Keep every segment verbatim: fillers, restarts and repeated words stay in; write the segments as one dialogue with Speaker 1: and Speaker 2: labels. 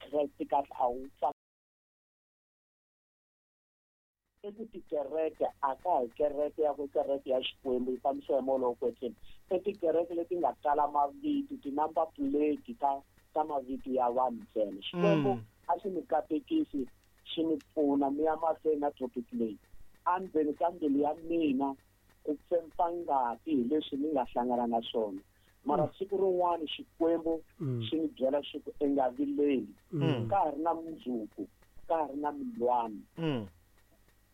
Speaker 1: Kreste kahle a wu i ku tikereke a ka hi kereke ya ku kereke ya Xikwembu yi fambisiwa hi moya lowo kwetsima. I tikereke leti nga tala mavito, ti-number plate ta ta mavito ya vanhu ntsena. Xikwembu a xi mi katekisi, xi mi pfuna mi ya mahlweni na topic leyi. Endzeni ka mbilu ya mina ku pfempa ngati hi leswi ni nga hlangana na swona. Mara siku rin'wana Xikwembu xi ni byela xi ku i nga vileli, ka ha ri na mundzuku, ka ha ri na milwani.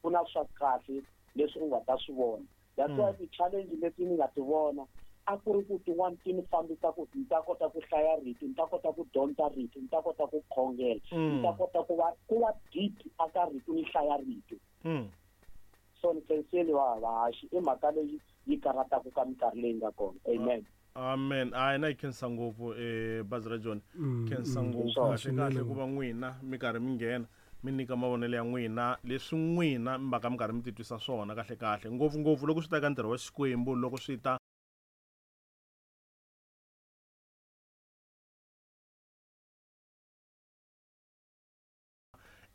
Speaker 1: Ku na swa kahle leswi u nga ta swi vona. That's why ti-challenge leti ni nga ti vona a ku ri ku tin'wani ti ni fambisa ku ni ta kota ku hlaya rito, ni ta kota ku dyondza rito, ni ta kota ku khongela, ni ta kota ku va ku va deep aka rito, ni hlaya rito. So ni khenseli va vahaxi i mhaka leyi yi karhataka ka minkarhi leyi nga kona. Amen.
Speaker 2: Amen. A na yi khensa ngopfu eh bazi ra John. Khensa ngopfu kahle kahle ku va n'wina mi karhi mi nghena mi nyika mavonelo ya n'wina leswi n'wina mi va ka mi karhi mi titwisa swona kahle kahle ngopfu ngopfu loko swi ta ka ntirho wa Xikwembu, loko swi ta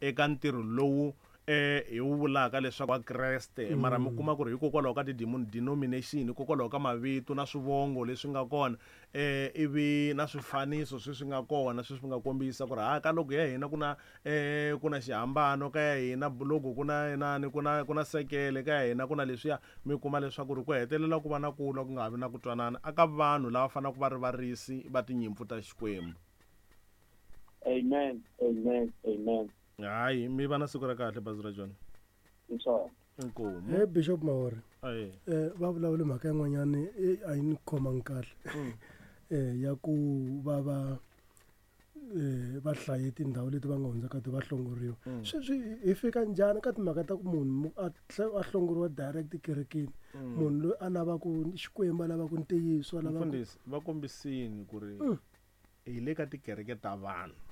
Speaker 2: eka ntirho lowu eh hi wu vulaka leswaku wa Kreste, mara mi kuma ku ri hikokwalaho ka ti-denomination, hikokwalaho ka mavito na swivongo leswi nga kona, eh ivi na swifaniso sweswi nga kona sweswi nga kombisa ku ri ha ka loko ya hina ku na eh ku na xihambano, ka ya hina logo ku na inani, ku na ku na sekele, ka ya hina ku na leswiya. Mi kuma leswaku ri ku hetelela ku va na ku lwa ku nga vi na ku twanana aka vanhu lava faneleke va ri varisi va tinyimpfu ta Xikwembu.
Speaker 1: Amen, amen, amen.
Speaker 2: Hayi, mi va na siku ra kahle bazi ra John.
Speaker 1: Inkomu.
Speaker 2: Inkomu.
Speaker 3: Hey Bishop Mahori.
Speaker 2: Aye.
Speaker 3: Eh va vulavule mhaka yin'wanyani a yi ni khomangi kahle. Eh ya ku va va eh va hlaye tindhawu leti va nga hundza ka ti va hlongoriwa. Sweswi hi fika njhani ka timhaka ta ku munhu a a hlongoriwa direct kerekeni? Munhu loyi a lavaka Xikwembu, a lavaka ntiyiso, a lavaka
Speaker 2: Mfundhisi, va kombisini ku ri hi le ka tikereke ta vanhu.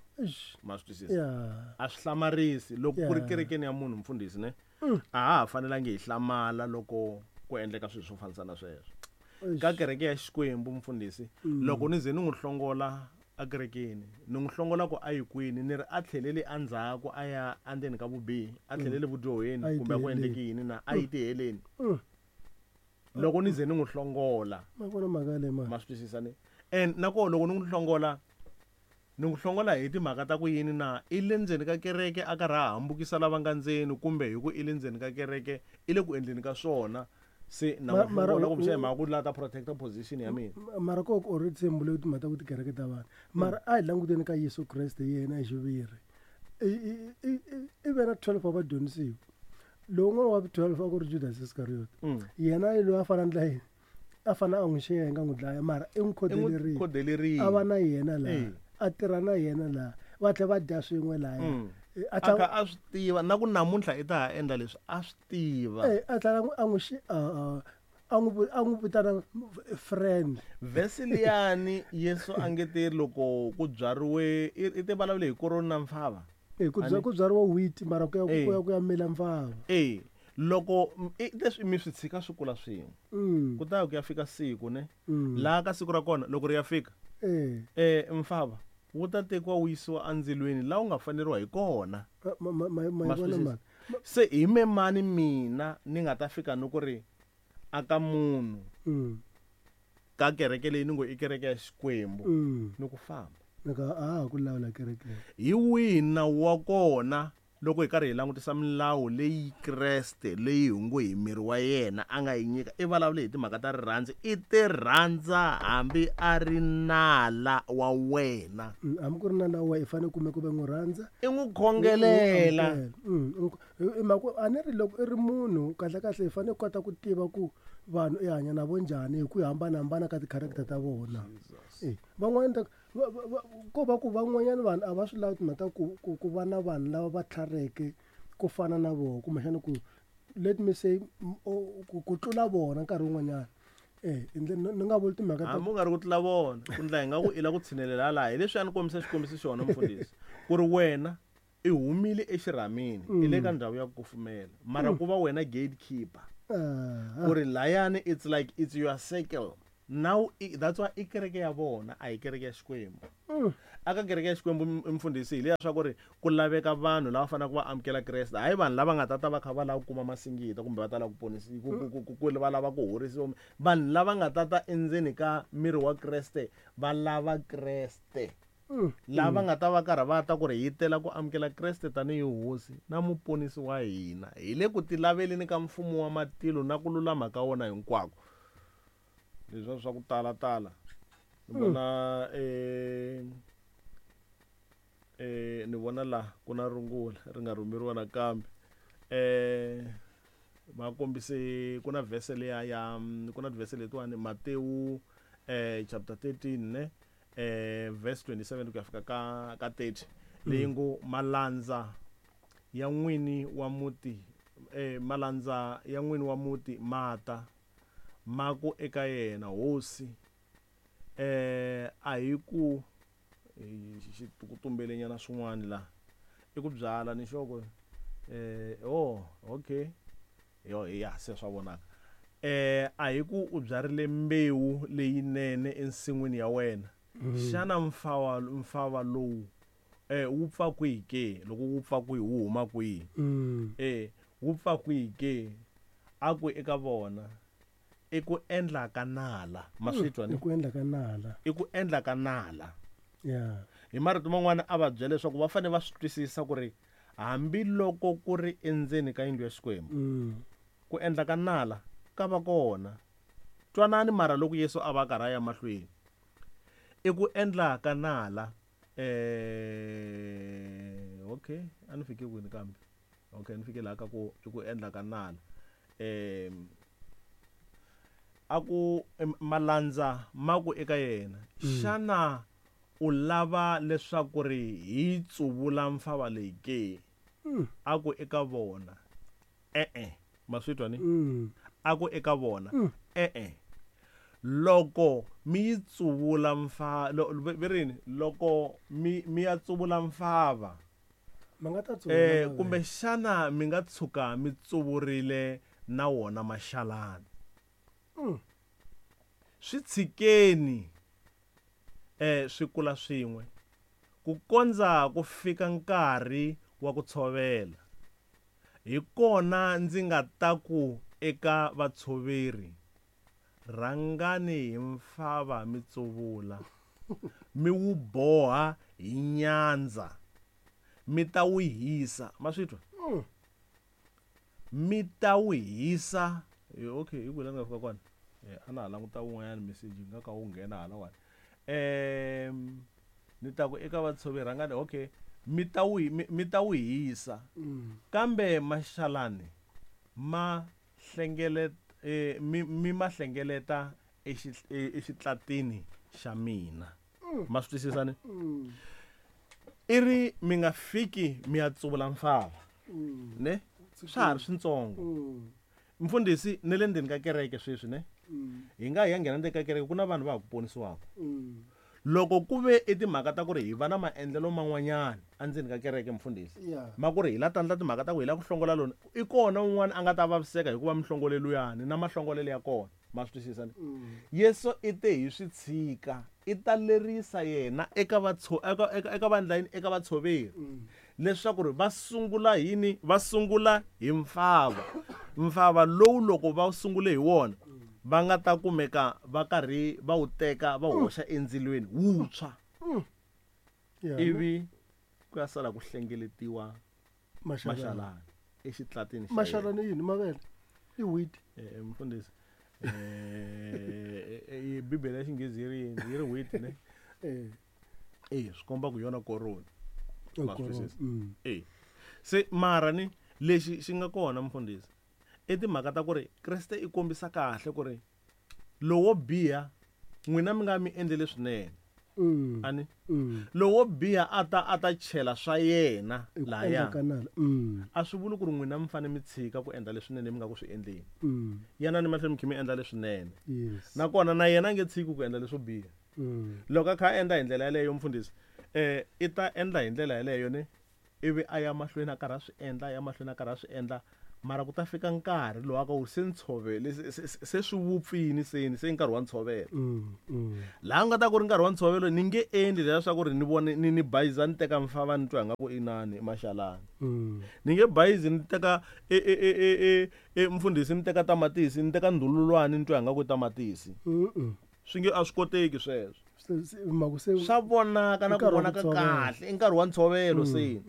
Speaker 2: Ma swi twisisa? A swi hlamarisi loko ku ri kerekeni ya munhu mfundhisi ne? A ha ha fanelangi hi hlamala loko ku endleka swilo swo fanisa na sweswo. Ka kereke ya Xikwembu mfundhisi, loko ni ze ni n'wi hlongola ekerekeni, ni n'wi hlongola ku a yi kwini, ni ri a tlheleli endzhaku a ya endzeni ka vubihi, a tlheleli vudyoheni kumbe ku endleke yini na a yi tiheleni. Loko ni ze ni n'wi hlongola.
Speaker 3: Ma vona mhaka leyi mani?
Speaker 2: Ma swi twisisa ne? And na koho loko ni n'wi hlongola, ni n'wi hlongola hi timhaka ta ku yini na? I le ndzeni ka kereke a karhi a hambukisa lava nga ndzeni, kumbe hi ku i le ndzeni ka kereke i le ku endleni ka swona, se na n'wi hlongola kumbe hi mhaka ku la ta protecta position ya mina.
Speaker 3: Mara ko ku already se mbule timhaka ta ku tikereke ta vanhu. Mara a hi languteni ka Yesu Kreste yena hi xiviri. I ve na twelve wa vadyondzisiwa. Lowu un'wana wa twelve a ku ri Judas Iscariot. Yena i loyi a fana ndlela yini? A fana a n'wi xenga, a n'wi dlaya, mara i n'wi khodelerile.
Speaker 2: Khodelerile.
Speaker 3: A va na yena laha. A tirha na yena laha. Va tlhela va dya swin'we lahaya.
Speaker 2: A kha a swi tiva na ku namuntlha i ta ha endla leswi, a swi tiva.
Speaker 3: Eh, a tlhela a n'wi xi, a, a n'wi, a n'wi vitana friend.
Speaker 2: Verse liyani Yesu a nge te loko ku byariwe, i te vulavule hi koroni na mfava.
Speaker 3: Eh, ku bya, ku byariwa wheat, mara ku ya, ku ya, ku ya mila mfava.
Speaker 2: Eh, loko i leswi mi swi tshika swi kula swin'we. Ku ta ku ya fika siku ne? Laha ka siku ra kona loko ri ya fika.
Speaker 3: Eh.
Speaker 2: Eh, mfava wu ta tekiwa wu yisiwa endzilweni laha wu nga faneriwa hi kona.
Speaker 3: Ma, ma, ma, ma,
Speaker 2: Ma swi
Speaker 3: vona
Speaker 2: twisisa?
Speaker 3: mhaka.
Speaker 2: Se hi me mani mina ni nga ta fika ni ku ri aka munhu ka kereke leyi ni ngo i kereke ya Xikwembu ni ku famba.
Speaker 3: Ni ka a ha ku lawula kereke.
Speaker 2: Hi wihi nawu wa kona loko hi karhi hi langutisa milawu leyi Kreste leyi hi ngo hi miri wa yena a nga yi nyika? I vulavule hi timhaka ta rirhandzu, i ti rhandza hambi a ri nala wa wena.
Speaker 3: Hambi ku ri nala wa wena i fanele kumbe ku ve n'wi rhandza,
Speaker 2: i n'wi khongelela.
Speaker 3: I mhaka a ni ri loko i ri munhu kahle kahle hi fanele ku kota ku tiva ku vanhu i hanya na vo njhani hi ku hambanahambana ka ti-character ta vona. Eh, van'wanyana ta va, va, va, ko va ku van'wanyana vanhu a va swi lavi timhaka ta ku, ku, ku va na vanhu lava va tlhareke ku fana na vona, kumbexana ku, let me say, m-, o, ku, ku tlula vona nkarhi wun'wanyana. Eh, ni, ni nga vuli timhaka ta
Speaker 2: Hambi u nga ri ku tlula vona, ku ndla hi nga ku i lava ku tshinelela laha, hi leswi a ni kombisa xikombiso xona mfundhisi, ku ri wena i humile exirhamini, i le ka ndhawu ya ku kufumela, mara ku va wena gatekeeper.
Speaker 3: Ah.
Speaker 2: Ku ri layani it's like it's your circle. Now, i, that's why i kereke ya vona, a hi kereke ya Xikwembu.
Speaker 3: Mm.
Speaker 2: Aka kereke ya Xikwembu mfundhisi hi leya swa ku ri ku laveka vanhu lava faneleke va amukela Kreste, hayi vanhu lava nga ta ta va kha va lava ku kuma masingita kumbe va ta lava ku ponisiwa, ku, ku, ku, ku va lava ku horisiwa. Vanhu lava nga ta ta endzeni ka miri wa Kreste va lava Kreste. Lava nga ta va karhi va ta ku ri hi tela ku amukela Kreste tanihi hosi na muponisi wa hina, hi le ku tilaveleni ka mfumo wa matilo na ku lulama ka wona hinkwako. Leswi swa ku tala tala ni vona eh eh ni vona la ku na rungula ri nga rhumeriwa nakambe. Eh va kombise ku na verse leya ya ku na verse letiwani Matewu eh chapter thirteen ne eh verse twenty-seven ku ya fika ka ka thirty leyi ngo malandza ya n'wini wa muti eh malandza ya n'wini wa muti mata ma ku eka yena hosi eh a hi ku ku tumbelenyana swin'wana la i ku byala ni xoko eh oh okay yo ya se swa vonaka eh a hi ku u byarile mbewu leyinene ensin'wini ya wena xana mfawa mfava lowu eh wu pfa kwihi ke loko wu pfa kwihi wu huma kwihi eh wu pfa kwihi ke a ku eka vona i ku endla ka nala maswitwa ni
Speaker 3: i ku endla ka nala
Speaker 2: i ku endla ka nala.
Speaker 3: Yeah.
Speaker 2: Hi marito man'wana a va byela leswaku va fanele va swi twisisa ku ri hambiloko ku ri endzeni ka yindlu ya Xikwembu ku endla ka nala ka va kona. Twanani mara loko Yesu a va karhi a ya mahlweni i ku endla ka nala eh okay a ni fike kwini kambe okay ni fike laha ka ku i ku endla ka nala eh a ku malandza ma ku eka yena xana u lava leswaku ri hi tsuvula mfava leyi ke a ku eka vona e-e maswitwa ni a ku eka vona e-e loko mi yi tsuvula mfa verini loko mi mi ya tsuvula mfava
Speaker 3: ma nga ta tsuvula
Speaker 2: eh kumbe xana mi nga tshuka mi tsuvurile na wona maxalana swi tshikeni eh swi kula swin'we ku kondza ku fika nkarhi wa ku tshovela hi kona ndzi nga ta ku eka vatshoveri rhangani hi mfava mi tsuvula mi wu boha hi nyandza mi ta wu hisa maswitwa mi ta wu hisa okay hi ku la nga fika kona eh ana languta wun'wanyana message nga ka wu nghena hala wani eh ni ta ku eka vatshoveri rhangani okay mi ta wu mi ta wu hisa kambe maxalani ma hlengeleta eh mi mi ma hlengeleta exitlatini xa mina ma swi twisisa ni i ri mi nga fiki mi ya tsuvula mfava ne swa ha ri swintsongo mfundhisi ne le ndzeni ka kereke sweswi ne hi nga hi ya nghena ndzeni ka kereke ku na vanhu va ha ku ponisiwaka loko ku ve i timhaka ta ku ri hi va na maendlelo man'wanyana endzeni ka kereke mfundhisi ma ku ri hi la tandla timhaka ta ku hi la ku hlongola lona i kona un'wana a nga ta vaviseka hikuva mihlongoleluyani na mahlongolelo ya kona ma swi twisisa ni Yesu i te hi swi tshika i ta lerisa yena eka vatso eka eka vandlayini eka vatshoveri leswaku ri va sungula yini va sungula hi mfava mfava lowu loko va sungule hi wona va nga ta kumeka va karhi va wu teka va hoxa endzilweni wuntshwa ivi ku ya sala ku hlengeletiwa maxalani exitlatini xa
Speaker 3: maxalani yini mavele i wheat
Speaker 2: eh mfundhisi eh Bibele ya Xinghezi yi ri yini yi ri wheat ne
Speaker 3: eh
Speaker 2: eh swi komba ku yona koroni eh se mara ni lexi xi nga kona mfundhisi i timhaka ta ku ri Kreste i kombisa kahle ku ri lowo biha n'wina mi nga mi endlele swinene ani lowo biha a ta a ta chela swa yena laya a swi vuli ku ri n'wina mi fanele mi tshika ku endla leswinene mi nga ku swi endleni yena ni mahlweni mi kha mi endla leswinene nakona na yena a nge tshiki ku endla leswo biha loko a kha a endla hi ndlela yaleyo mfundhisi eh i ta endla hi ndlela yaleyo ne ivi a ya mahlweni a karhi a swi endla ya mahlweni a karhi a swi endla Mara ku ta fika nkarhi lowu aka wu se ntshovele se swi vupfini seni se nkarhi wa ntshovelo. Laha nga ta ku ri nkarhi wa ntshovelo ni nge endli leswaku ri ni vone ni ni bayiza ni teka mfava ni twa nga ku inani maxalani. Ni nge bayizi ni teka e e e e e mfundhisi ni teka tamatisi ni teka ndhululwani ni twa nga ku tamatisi. Swi nge a swi koteki sweswo. Swa vonaka na ku vonaka kahle i nkarhi wa ntshovelo se.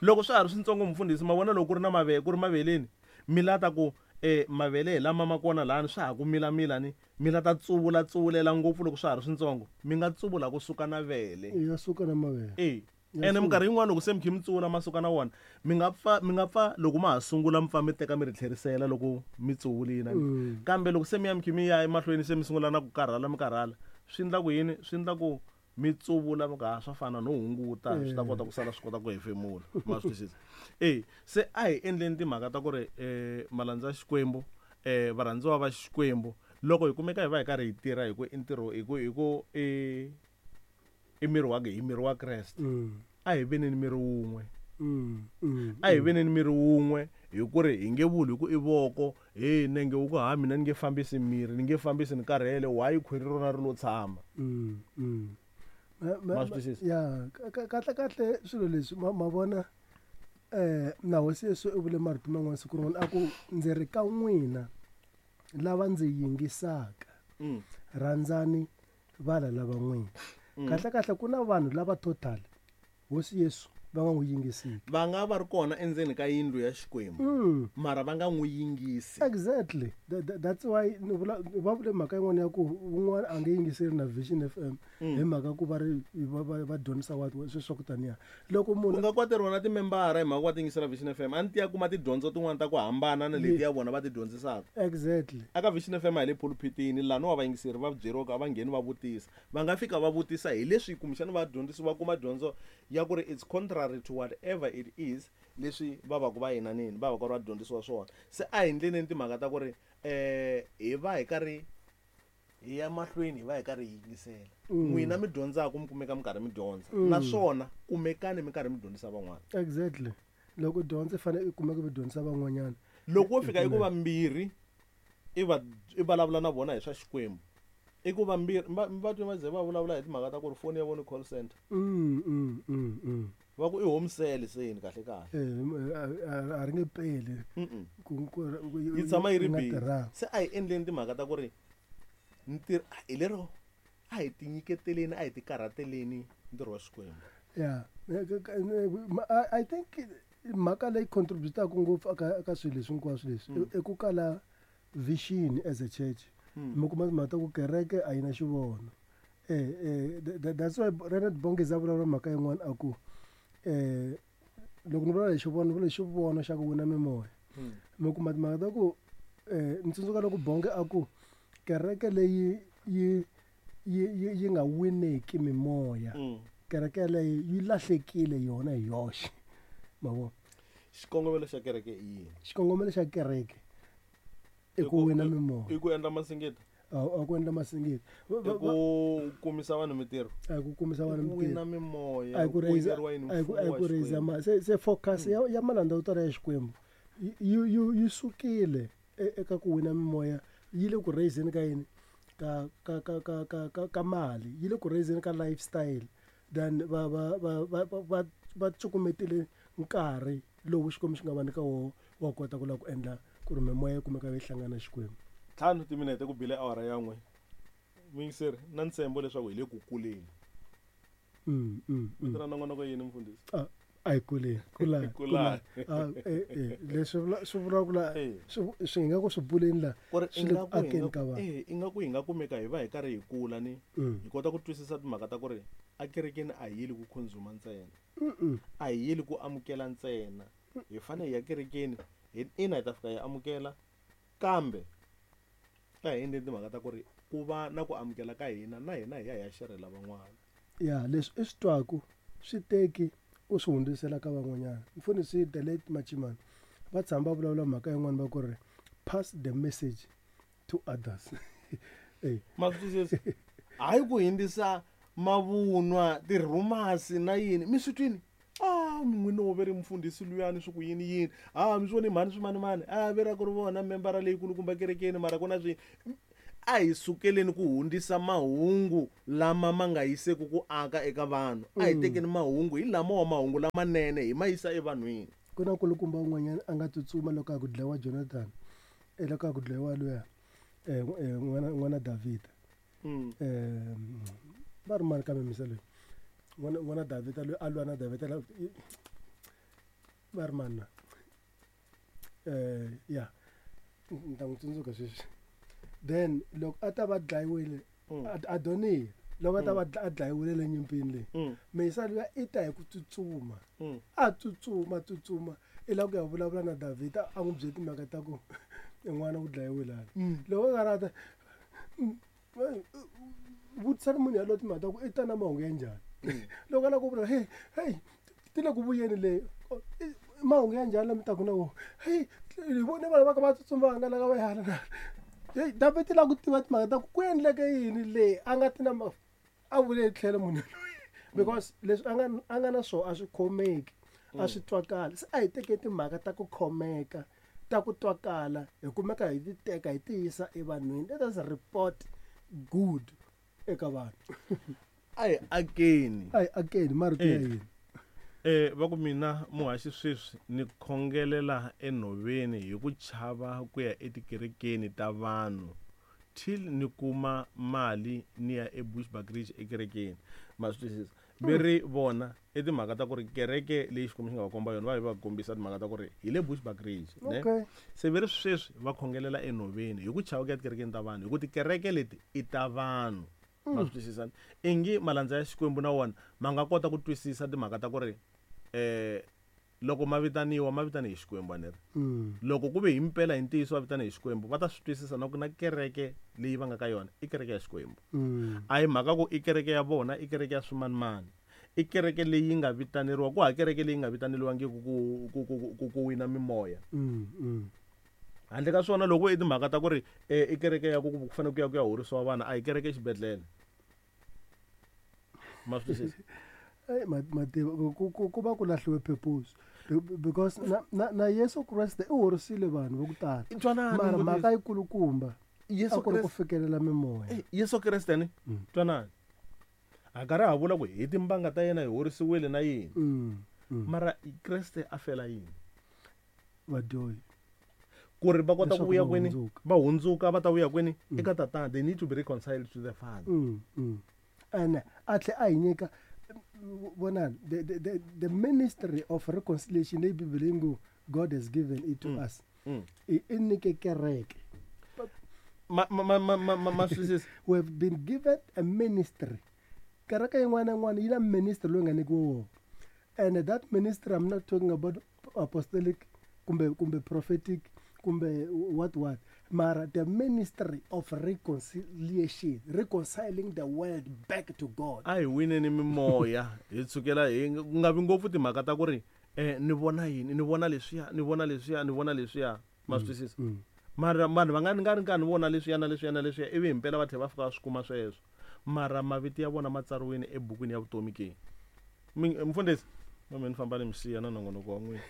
Speaker 2: Loko swa ha ri swintsongo mfundhisi ma vona loko ku ri na mavele ku ri maveleni mi lata ku eh mavele hi lama ma kona lani swa ha ku mila mila ni mi lata tsuvula tsuvulela ngopfu loko swa ha ri swintsongo mi nga tsuvula kusuka na vele.
Speaker 3: Ya suka na mavele.
Speaker 2: Eh ene minkarhi yin'wana loko se mi khe mi tsuvula masuka na wona mi nga pfa mi nga pfa loko ma ha sungula mi pfa mi teka mi ri tlherisela loko mi tsuvulile kambe loko se mi ya mi khe mi ya emahlweni se mi sungula na ku karhala mi karhala swi endla ku yini swi endla ku mi tsuvula mi ka swa fana no hunguta swi ta kota ku sala swi kota ku hefemula ma swi twisisa. Eh se a hi endleni timhaka ta ku ri eh malandza ya Xikwembu eh varhandziwa va Xikwembu loko hi kumeka hi va hi karhi hi tirha hi ku i ntirho hi ku hi ku i i miri wa hi miri wa Kreste a hi veni ni miri wun'we. A hi veni ni miri wun'we hi ku ri hi nge vuli hi ku i voko he nenge wu ku ha mina ni nge fambisi miri ni nge fambisi ni karhele why khwiri rona ri lo tshama. Ma swi twisisa?
Speaker 3: Ya kahle kahle swilo leswi ma vona eh na hosi Yesu u vule marito man'wana siku rin'wana a ku ndzi ri ka n'wina lava ndzi yingisaka rhandzani vala lava n'wina. Kahle kahle ku na vanhu lava total hosi Yesu va nga n'wi yingisiki.
Speaker 2: Va nga va ri kona endzeni ka yindlu ya Xikwembu mara va nga n'wi yingisi.
Speaker 3: Exactly. That's why ni vula va vule mhaka yin'wana ya ku un'wana a nge yingiseri na Vision F M hi mhaka ku va ri va va dyondzisa wa sweswo swa ku taniya. Loko munhu
Speaker 2: ku nga kwateriwa na timembara hi mhaka ku va ti yingisela Vision F M a ni ti ya kuma tidyondzo tin'wana ta ku hambana na leti ya vona va ti dyondzisaka.
Speaker 3: Exactly.
Speaker 2: Aka Vision F M a hi le pulpitini laha no wa vayingiseri va byeriwa ku a va ngheni va vutisa. Va nga fika va vutisa hi leswi kumbexana va dyondzisi va kuma dyondzo ya ku ri it's contrary to whatever it is leswi va va ku va yinanini va va ku ri va dyondzisiwa swona. Se a hi endleni timhaka ta ku ri eh hi va hi karhi hi ya mahlweni hi va hi karhi hi yingisela. N'wina mi dyondzaka mi kumeka mi karhi mi dyondza naswona kumekani mi karhi mi dyondzisa van'wana.
Speaker 3: Exactly. Loko dyondza i fanele i kumeka mi dyondzisa van'wanyana.
Speaker 2: Loko wo fika i ku vambirhi i va i vulavula na vona hi swa Xikwembu i ku vambirhi va twa va ze va vulavula hi timhaka ta ku ri foni ya vona i call center.
Speaker 3: Mm mm mm.
Speaker 2: Va ku i home cell seni kahle kahle.
Speaker 3: Eh a ri nge peli.
Speaker 2: Yi tshama yi ri busy. Se a hi endleni timhaka ta ku ri ntirho hi lero a hi tinyiketeleni a hi tikarhateleni ntirho wa Xikwembu.
Speaker 3: Yeah. I think mhaka leyi contributaka ngopfu aka ka swilo leswi hinkwaswo leswi i ku kala vision as a church. Mi kuma timhaka ta ku kereke a yi na xivono. Eh eh that's why Renard Bongeza vulavula mhaka yin'wana a ku eh loko ni vulavula hi xivono vula xivono xa ku wina mimoya. Mi kuma timhaka ta ku eh ni tsundzuka loko Bonge a ku kereke leyi yi yi yi nga wineki mimoya kereke leyi yi lahlekile yona hi yoxe. Ma vona?
Speaker 2: Xikongomelo xa kereke i yini?
Speaker 3: Xikongomelo xa kereke i ku wina mimoya.
Speaker 2: I ku endla masingita.
Speaker 3: A ku endla masingita.
Speaker 2: I ku kumisa vanhu mitirho.
Speaker 3: A ku kumisa vanhu mitirho.
Speaker 2: Wina mimoya.
Speaker 3: A ku raise a ku a ku raise ma se se focus ya ya malandza yo tala ya Xikwembu yi yi yi sukile eka ku wina mimoya yi le ku raiseni ka yini ka ka ka ka ka ka ka mali yi le ku raiseni ka lifestyle then va va va va va va cukumetile nkarhi lowu Xikwembu xi nga va nyika wona wa kota ku lava ku endla ku ri mimoya yi kumeka yi hlangana na Xikwembu.
Speaker 2: Ntlhanu timinete ku bile awara ya n'we. Muyingiseri na ntshembo leswaku hi le ku kuleni.
Speaker 3: Mm mm.
Speaker 2: Mi tirha nongonoko yini mfundhisi?
Speaker 3: A a hi kuleni. Kula kula. Eh eh leswi swi vula ku la swi swi nga ku swi buleni la swi le ku akeni ka vanhu.
Speaker 2: Eh ingaku hi nga kumeka hi va hi karhi hi kula ni hi kota ku twisisa timhaka ta ku ri a kerekeni a hi yeli ku consume ntsena. A hi yeli ku amukela ntsena. Hi fanele hi ya kerekeni hi ina hi ta fika hi amukela kambe a hi endleni timhaka ta ku ri ku va na ku amukela ka hina na hina hi ya hi ya xerhela van'wana.
Speaker 3: Ya leswi i swi twaku swi teki u swi hundzisela ka van'wanyana. Mfundhisi the late Machimana va tshama va vulavula mhaka yin'wana va ku ri pass the message to others. Eh
Speaker 2: ma swi twisisa? Hayi ku hundzisa mavunwa tirhumasi na yini mi swi twini? Ah n'wina ve ri mufundhisi luyani swi ku yini yini a mi swi voni mhani swimanimani a ve ra ku ri vona membara leyikulukumba kerekeni mara ku na swi a hi sukeleni ku hundzisa mahungu lama ma nga yiseku ku aka eka vanhu a hi tekeni mahungu hi lama wa mahungu lamanene hi ma yisa evanhwini
Speaker 3: ku na nkulukumba un'wanyana a nga tsutsuma loko a ku dlayiwa Jonathan loko a ku dlayiwa luya n'wana n'wana Davhida um va ri mani kambe misa loyi n'wana n'wana Davhida loyi a lwa na Davhida va ri mani na um ya ni ta n'wi tsundzuka sweswi then loko a ta va dlayiwile Adoniya loko a ta va a dlayiwile le nyimpini leyi misa luya i ta hi ku tsutsuma a tsutsuma tsutsuma i lava ku ya vulavula na Davhida a n'wi byele timhaka ta ku n'wana u dlayiwile hala loko a nga ri a ta vutisani munhu yaloye timhaka ta ku i ta na mahungu ya njhani loko a lava ku vula hey hey ti le ku vuyeni leyi mahungu ya njhani lama taku na wona hey hi vone vanhu va ka va tsutsumanga la ka va hala na hey David i lava ku tiva timhaka ta ku ku endleke yini leyi a nga ti na a vule tlhelo munhu loyi because leswi a nga a nga na swona a swi khomeki a swi twakali se a hi teke timhaka ta ku khomeka ta ku twakala hi kumeka hi ti teka hi ti yisa evanhwini let us report good eka vanhu
Speaker 2: a hi akeni
Speaker 3: a hi akeni marito ya yini
Speaker 2: eh va ku mina muhaxi sweswi ni khongelela enhoveni hi ku chava ku ya etikerekeni ta vanhu till ni kuma mali ni ya eBushbuckridge ekerekeni ma swi twisisa ve ri vona i timhaka ta ku ri kereke leyi Xikwembu xi nga va komba yona va yi va kombisa timhaka ta ku ri hi le Bushbuckridge ne se ve ri sweswi va khongelela enhoveni hi ku chava ku ya tikerekeni ta vanhu hi ku tikereke leti i ta vanhu ma swi twisisa ingi malandza ya Xikwembu na wona ma nga kota ku twisisa timhaka ta ku ri eh loko ma vitaniwa ma vitani hi Xikwembu aneri loko ku ve hi mpela hi ntiyiso va vitani hi Xikwembu va ta swi twisisa na ku na kereke leyi va nga ka yona i kereke ya Xikwembu a hi mhaka ku i kereke ya vona i kereke ya swimanimani i kereke leyi nga vitaneriwa ku ha kereke leyi nga vitaneriwangiki ku ku ku ku wina mimoya handle ka swona loko i timhaka ta ku ri i kereke ya ku ku fanele ku ya ku ya horisiwa vana a hi kereke exibedhlele ma swi twisisa
Speaker 3: Hey, mativa ku ku ku va ku lahliwe purpose because na na, na Yesu Kreste i horisile vanhu va ku tala mara mhaka yikulukumba
Speaker 2: Yesu
Speaker 3: ku ri ku fikelela mimoya
Speaker 2: Yesu Kreste ni twanani a karhi ha vula ku hi timbanga ta yena hi horisiwile na yini mara Kreste a fela yini
Speaker 3: vadyohi
Speaker 2: ku ri va kota ku vuya kwini va hundzuka va ta vuya kwini eka tatana they need to be reconciled to the Father
Speaker 3: mm, mm. And a tlhe a hi nyika vonani the, the, the, the ministry of reconciliation leyi Bibele yi ngo God has given it to mm. us mm. i nyike kereke
Speaker 2: ma ma ma ma ma
Speaker 3: we have been given a ministry kereke yin'wana na yin'wana yi na ministry loyi nga nyikiwa wona and that ministry I'm not talking about apostolic kumbe kumbe prophetic kumbe what what mara the ministry of reconciliation reconciling the world back to God
Speaker 2: a hi wineni mimoya hi tsukela hi nga vi ngopfu timhaka ta ku ri eh ni vona yini ni vona leswiya ni vona leswiya ni vona leswiya ma swi twisisa mara vanhu va nga nga ri karhi ni vona leswiya na leswiya na leswiya ivi himpela va tlhela va fika va swi kuma sweswo mara mavito ya vona ma tsariwile ebukwini ya vutomi ke mfundhisi mame ni famba ni mi siya na nongonoko wa n'wina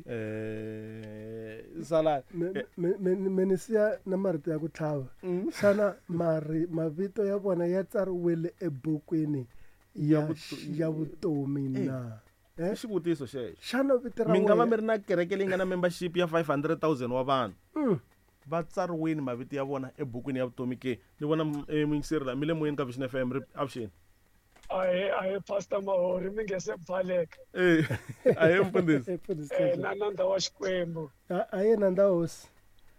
Speaker 2: eh sala
Speaker 3: me ni siya na marito ya ku tlhava xana mari mavito ya vona ya tsariwile ebukwini ya ya vutomi na
Speaker 2: i xivutiso xexo
Speaker 3: xana vito ra
Speaker 2: mi nga va mi ri na kereke leyi nga na membership ya five hundred thousand wa vanhu va tsariwini mavito ya vona ebukwini ya vutomi ke ni vona muyingiseri la mi le moyeni ka Vision F M ri avuxeni
Speaker 4: ahe ahe Pastor Mahori mi nge se pfaleka
Speaker 2: eh ahe mfundhisi
Speaker 4: eh na nandza wa Xikwembu
Speaker 3: ahe nandza hosi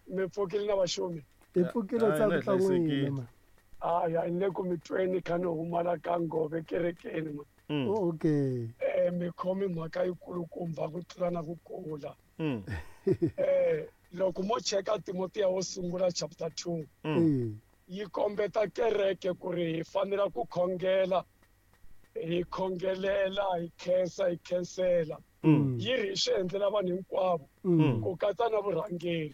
Speaker 4: mi pfukile na vaxumi
Speaker 3: hi pfukile tsa ku n'wina
Speaker 4: aya ni le ku mi tweni kha ni humala ka ngove kerekeni ma
Speaker 3: okay
Speaker 4: eh mi khomi mhaka yikulukumba ku tlula na ku kula eh loko mo cheka Timotiya wo sungula chapter two yi kombeta kereke ku ri hi fanela ku khongela hi khongelela hi khensa hi khensela yi ri hi swi endlela vanhu hinkwavo ku katsa na vurhangeri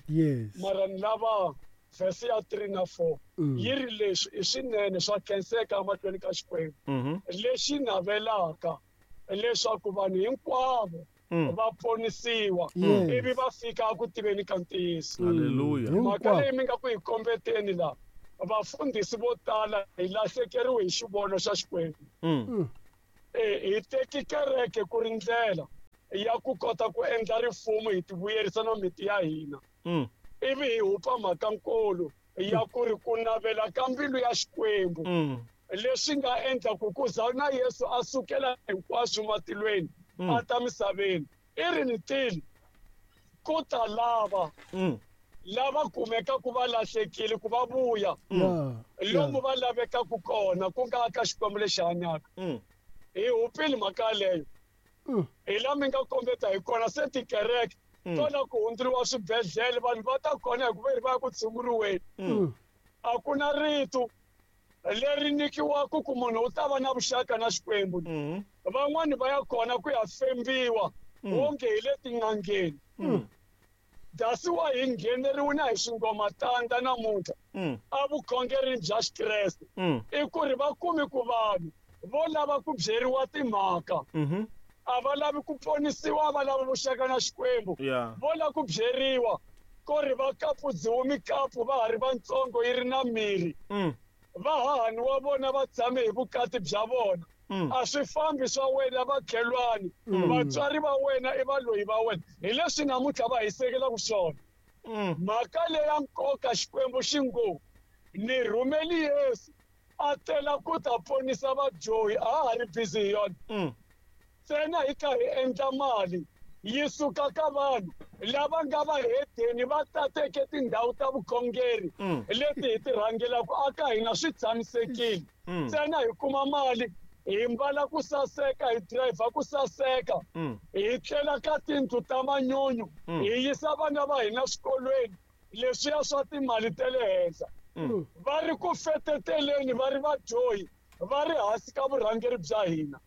Speaker 4: mara ni lava verse ya three na four yi ri leswi i swinene swa khenseka emahlweni ka Xikwembu lexi navelaka leswaku vanhu hinkwavo va ponisiwa ivi va fika ku tiveni ka ntiyiso.
Speaker 2: Haleluya.
Speaker 4: Mhaka leyi mi nga ku hi kombeteni laha, vafundhisi vo tala hi lahlekeriwe hi xivono xa Xikwembu. Eh hi teki kereke ku ri ndlela ya ku kota ku endla rifumo hi tivuyerisa na miti ya hina. Ivi hi hupa mhaka nkulu ya ku ri ku navela ka mbilu ya Xikwembu leswi nga endla ku ku za na Yesu a sukela hinkwaswo matilweni a ta misaveni i ri ni tilo ku ta lava lava kumekaku va lahlekile ku va vuya lomu va lavekaku kona ku nga ka Xikwembu lexi hanyaka. Hi hupile mhaka yaleyo hi la mi nga kombeta hi kona se tikereke tona ku hundzuriwa swibedhlele vanhu va ta kona hikuva ri va ya ku tshunguriweni. A ku na rito leri nyikiwaka ku munhu u ta va na vuxaka na Xikwembu. Van'wani va ya kona ku ya fembiwa wonge hi le tin'angeni. Dasiwa hi ngheneriwe na hi swingomatanda namuntlha a vukhongerini bya Xikreste i ku ri va kumi ku vanhu vo lava ku byeriwa timhaka a va lavi ku ponisiwa, a va lavi vuxaka na Xikwembu, vo lava ku byeriwa ku ri va kapudziwe mikapu va ha ri vantsongo yi ri na miri va hahani wa vona va tshame hi vukati bya vona. A swi fambi swa wena vakhelwani, vatswari va wena i valoyi va wena. Hi leswi namuntlha va hisekelaka swona. Mhaka leya nkoka Xikwembu xi ngo ni rhumeli Yesu a tela ku ta ponisa vadyohi, a ha ri busy hi yona. Ntsena hi kha hi endla mali yi suka ka vanhu lava nga vahedeni va tateke tindhawu ta vukhongeri leti hi ti rhangelaka aka hina swi tshamisekile. Ntsena hi kuma mali hi mbala ku saseka, hi driver ku saseka, hi tlela ka tindlu ta manyunyu, hi yisa vana va hina swikolweni leswiya swa timali ta le henhla. Va ri ku feteteleni, va ri vadyohi, va ri hansi ka vurhangeri bya hina.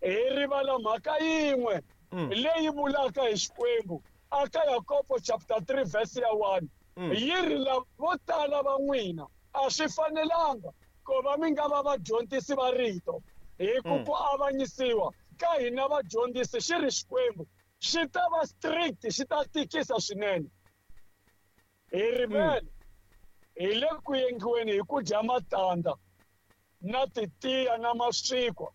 Speaker 4: Hi rivala mhaka yin'we leyi vulaka hi Xikwembu aka Yakobo chapter three verse ya one yi ri lava vo tala va n'wina a swi fanelanga ku va mi nga va vadyondzisi va rito, hi ku ku avanyisiwa ka hina vadyondzisi xi ri Xikwembu xi ta va strict, xi ta tikisa swinene. Hi rivele hi le ku yengiweni hi ku dya matandza na titiya na maswikwa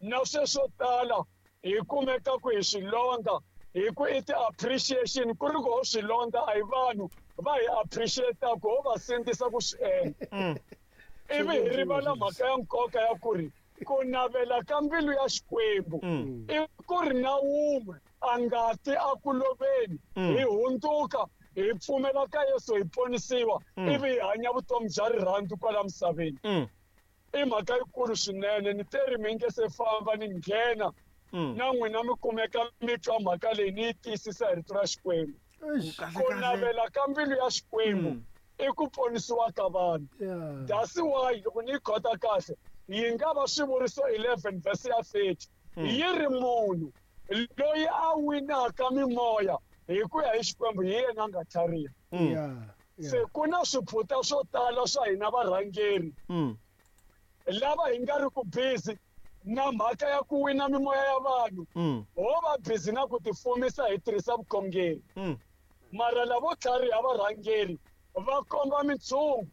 Speaker 4: na sweswo tala hi kumeka ku hi swilondza hi ku i ti-appreciation ku ri ku ho swilondza a hi vanhu va hi appreciate-aku ho va sindzisa ku swi endla. Ivi hi rivala mhaka ya nkoka ya ku ri ku navela ka mbilu ya Xikwembu i ku ri na wun'we a nga ti a ku loveni, hi hundzuka hi pfumela ka Yesu hi ponisiwa ivi hi hanya vutomi bya rirhandzu kwala misaveni. I mhaka yikulu swinene. Ni te ri mi nge se famba ni nghena na n'wina mi kumeka mi twa mhaka leyi ni yi tiyisisa hi rito ra Xikwembu. Ku navela ka mbilu ya Xikwembu i ku ponisiwa ka vanhu. That's why loko ni yi khota kahle yi nga va swivuriso eleven verse ya thirty yi ri munhu loyi a winaka mimoya hi ku ya hi Xikwembu hi yena a nga tlhariha. Se ku na swiphuta swo tala swa hina varhangeri lava hi nga ri ku busy na mhaka ya ku wina mimoya ya vanhu, ho va busy na ku tifumisa hi tirhisa vukhongeri. Mara lavo tlhariha varhangeri va komba mintshungu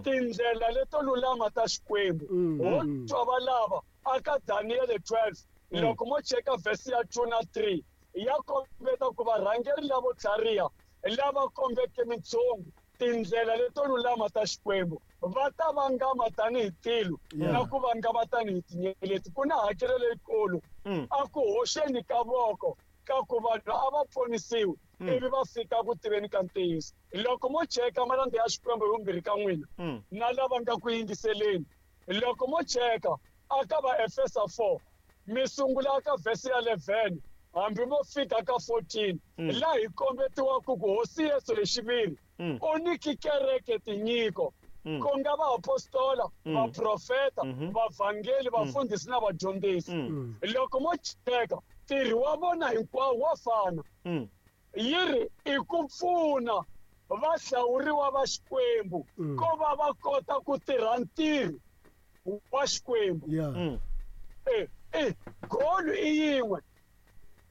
Speaker 4: tindlela leto lulama ta Xikwembu. Ho twa va lava aka Daniel twelve loko mo cheka verse ya two na three ya kombeta ku varhangeri lavo tlhariha lava kombeke mintshungu tindlela leto lulama ta Xikwembu va ta vangama tanihi tilo na ku vangama tanihi tinyeleti. Ku na hakelo leyikulu a ku hoxeni ka voko ka ku vanhu a va ponisiwi ivi va fika ku tiveni ka ntiyiso. Loko mo cheka malandza ya Xikwembu hi vumbirhi ka n'wina na lava nga ku yingiseleni, loko mo cheka aka va Efesa four mi sungula ka verse ya eleven hambi mo fika ka fourteen laha hi kombetiwaka ku Hosi Yesu hi xiviri u nyiki kereke tinyiko ku nga vaapostola, vaprofeta, vavhangeli, vafundhisi na vadyondzisi. Loko mo cheka ntirho wa vona hinkwawo wa fana. Yi ri i ku pfuna vahlawuriwa va Xikwembu ko va va kota ku tirha ntirho wa Xikwembu. Eh E goal i yin'we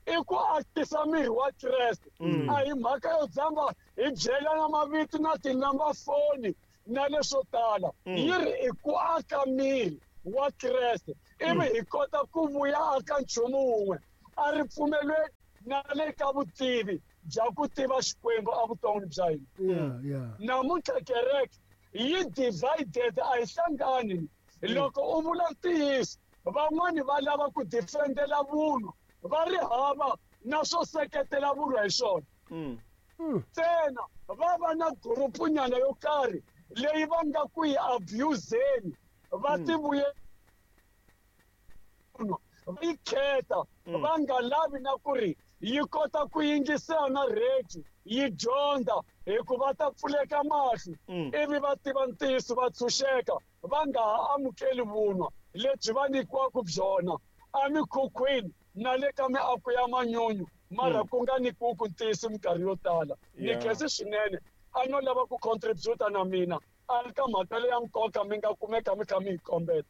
Speaker 4: i ku akisa miri wa Kreste. A hi mhaka yo dzamba hi byelana mavito na tinamba foni na leswo tala. Yi ri i ku aka miri wa Kreste ivi hi kota ku vuya aka nchumu wun'we a ri pfumelweni na le ka vutivi bya ku tiva Xikwembu evuton'wini bya hina. Namuntlha kereke yi divided a hi hlangani. Loko u vula ntiyiso van'wani va lava ku defendela vunwa va ri hava na swo seketela vunwa hi swona. Ntsena va va na gurupunyana yo karhi leyi va nga ku yi abuseni va tivuye va yi kheta va nga lavi na ku ri yi kota ku yingisela na radio yi dyondza hikuva ta pfuleka mahlo ivi va tiva ntiyiso va tshunxeka va nga ha amukeli vunwa lebyi va nyikiwaka byona emikhukhwini na le ka miako ya manyunyu mara ku nga nyikiwi ntiyiso minkarhi yo tala. Ni khensi swinene a no lava ku contributa na mina a ri ka mhaka leya nkoka mi nga kumeka mi kha mi yi kombeta.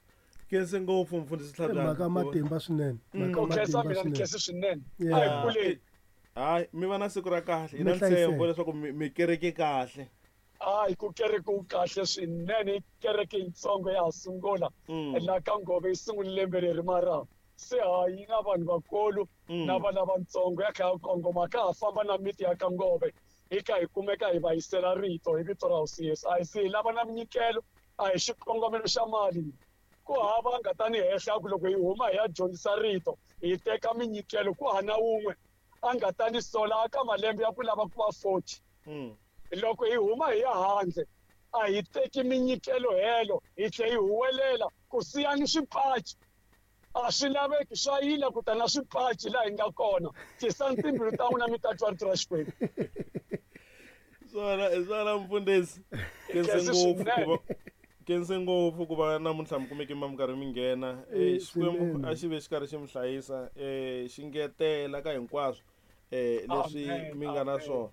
Speaker 2: Khensi ngopfu mfundhisi Tlhabyana.
Speaker 3: Mhaka matimba swinene.
Speaker 4: Ku khensa mina ni khensi swinene. A hi kuleni.
Speaker 2: Hayi mi va na siku ra kahle. Hi na ntshembo leswaku mi kereke kahle.
Speaker 4: Hayi ku kereke wu kahle swinene. Kereke yitsongo ya ha sungula laha ka Ngove yi sungule lembe leri mara se ha yi na vanhu vakulu na vana vatsongo ya kha ya kongoma ka ha famba na miti ya ka Ngove hi kha hi kumeka hi va yisela rito hi vito ra Hosi Yesu. A hi se hi lava na minyikelo a hi xikongomelo xa mali. Ku hava nga ta ni hehla ku loko hi huma hi ya dyondzisa rito hi teka minyikelo ku hana wun'we a nga ta ni sola aka malembe ya ku lava ku va forty. Loko hi huma hi ya handle a hi teki minyikelo helo hi tlhe hi huwelela ku siyani swipaci. A swi laveki swa yila ku ta na swipaci laha hi nga kona. Tisani timbilu ta n'wina mi ta twa rito ra Xikwembu.
Speaker 2: Swona hi swona mfundhisi. Khensi ngopfu ku va khensi ngopfu ku va namuntlha mi kumeke mi karhi mi nghena. Xikwembu a xi ve xi karhi xi mi hlayisa xi ngetela ka hinkwaswo leswi mi nga na swona.